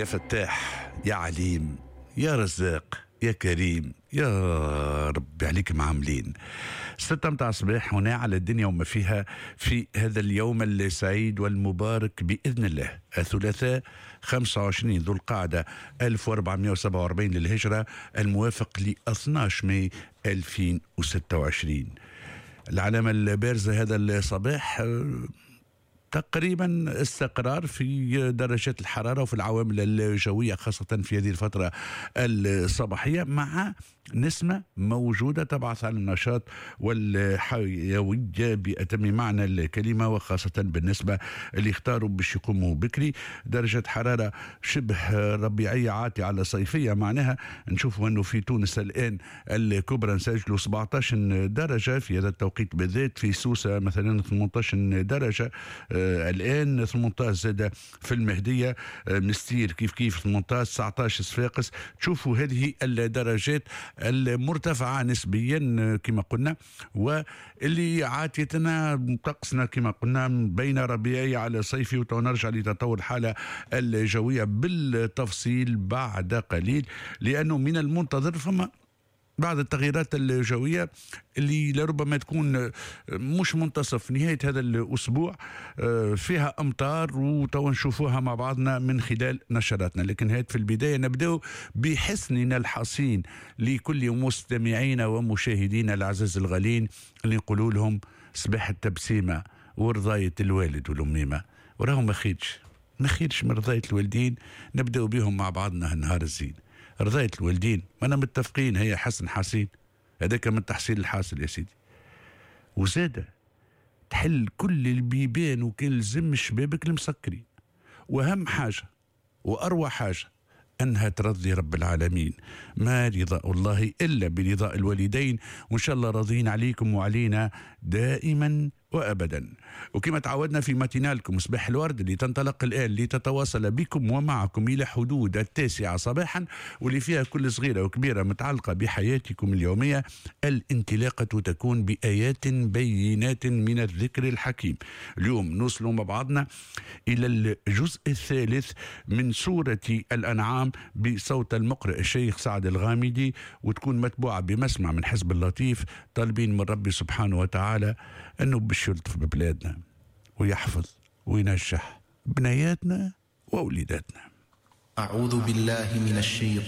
يا فتاح، يا عليم، يا رزاق، يا كريم، يا ربي عليك معاملين. 6 متاع الصباح هنا على الدنيا وما فيها في هذا اليوم السعيد والمبارك بإذن الله، الثلاثاء 25 ذو القعدة 1447 للهجرة، الموافق ل 12 ماي 2026. العلامة البارزة هذا الصباح تقريبا استقرار في درجات الحرارة وفي العوامل الجوية، خاصة في هذه الفترة الصباحية، مع نسمة موجودة تبعث على النشاط والحيوية بأتم معنى الكلمة، وخاصة بالنسبة اللي اختاروا باش يقوموا بكري. درجة حرارة شبه ربيعية عاتية على صيفية، معناها نشوفوا أنه في تونس الآن الكبرى نسجلوا 17 درجة في هذا التوقيت بالذات، في سوسة مثلا 18 درجة الآن، 18 زاد في المهدية، مستير كيف كيف 18، 19 صفاقس. تشوفوا هذه الدرجات المرتفعة نسبيا كما قلنا، واللي عاتيتنا طقسنا كما قلنا بين ربيعي على صيفي. ونرجع لتطور الحالة الجوية بالتفصيل بعد قليل، لأنه من المنتظر فما بعض التغييرات الجوية اللي لربما تكون مش منتصف نهاية هذا الأسبوع فيها أمطار، وتو نشوفوها مع بعضنا من خلال نشراتنا. لكن هات في البداية نبدأ بحسننا الحصين لكل مستمعينا ومشاهدينا العزاز الغالين، اللي نقولوا لهم صباح التبسيمة ورضاية الوالد والأميمة، وراهم ما خيرش ما خيرش من رضاية الوالدين. نبدأ بهم مع بعضنا النهار الزين. رضاية الوالدين ما أنا متفقين، هي حسن حسين، هذاك من تحصيل الحاصل يا سيدي. وزادة تحل كل البيبان وكل زم شبابك المسكرين. وأهم حاجة وأروع حاجة أنها ترضي رب العالمين. ما رضاء الله إلا برضاء الوالدين، وإن شاء الله راضين عليكم وعلينا دائما وأبدا. وكما تعودنا في ماتينالكم صباح الورد اللي تنطلق الآن لتتواصل بكم ومعكم إلى حدود 9 صباحا، واللي فيها كل صغيرة وكبيرة متعلقة بحياتكم اليومية. الانطلاقة تكون بآيات بينات من الذكر الحكيم. اليوم نوصل مع بعضنا إلى الجزء الثالث من سورة الأنعام بصوت المقرئ الشيخ سعد الغامدي، وتكون متبوعة بمسمع من حزب اللطيف، طالبين من ربي سبحانه وتعالى أنه باش يلطف ببلادنا ويحفظ وينجح بنياتنا ووليداتنا. أعوذ بالله من الشيطان